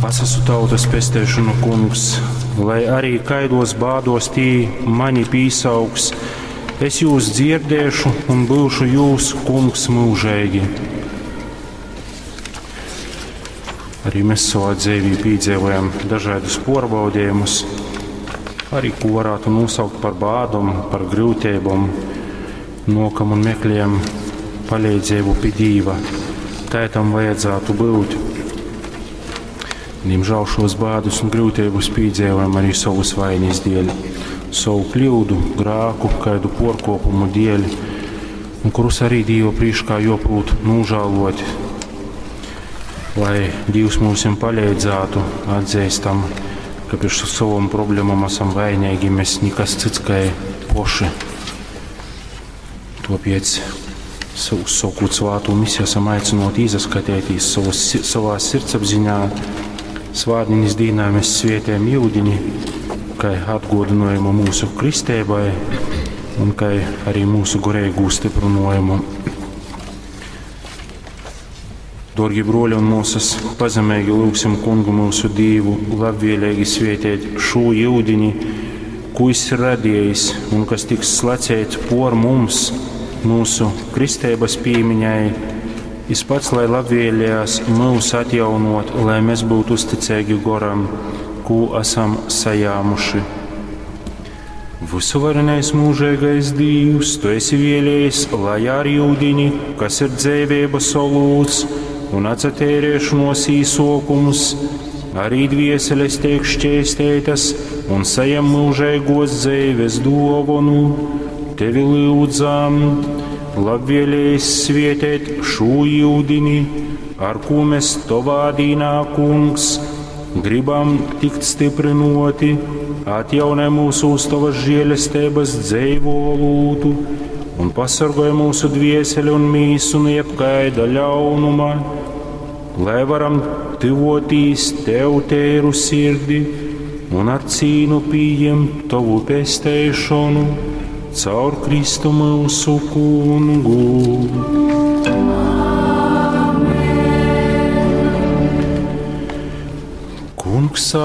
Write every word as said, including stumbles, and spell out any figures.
Es esmu tautas pesteišonu, kungs, lai arī kaidos bādos tī mani pīsaugs, es jūs dzirdēšu un būšu jūs, kungs, mūžīgi. Arī mēs savā dzīvī piedzīvojam dažādus porbaudījumus, arī ko varētu nosaukt par bādom, par grūtībām, nokam un meklējam palīdzību pie Dīva. Tā tam vajadzētu būt. Diemžēl šos bādus un grūtības piedzīvojam arī savas vainas dēļ, savu kļūdu, grāku, kādu porkopumu dēļ, un kurus arī Dīva priekšā joprūt nožēlot, lai Dievs mums palīdzētu, atzīstam, ka priekš savam problēmām esam vainīgi, mēs nekas cits kā poši. Tāpēc uzsākot svāto misiju esam aicināti izaskatīties savas, savā sirdsapziņā. Svātdienas dīnā mēs svietējam jūdiņi, kā atgodinājumu mūsu kristēbai un kā arī mūsu garīgu stiprinājumu. Dārgie broļi un māsas, pazemīgi lūgsim kungu mūsu Dievu, labvēlīgi svietēt šo jūdiņi, ko viņš ir radījis un kas tiks slacēts por mums, mūsu kristēbas pīmiņai. Jis pats, lai labvēlējās mūs atjaunot, lai mēs būtu uzticīgi goram, ko esam sajāmuši. Visuvarenais mūžīgais Dievs, tu esi vēlējis, lai ar jūdiņi, kas ir dzīvības olūts un atcerēšanos īsokums, arī dvieseles tiek šķēstētas un sajam mūžīgos dzīves dāvanu. Tevi lūdzam, labvēlējis svietēt šo jūdini, ar ko mēs tovā dīnā, kungs, gribam tikt stiprinoti, atjaunē mūsu uz tavas žēlestības dzeivo olūtu un pasargāj mūsu dvieseli un mīsu no jebkaida ļaunuma, lai varam tuvotīs tev tēru sirdi un ar cīnu pieņemt tavu pesteišanu caur Kristu mūsu kungu. Amen. Kungs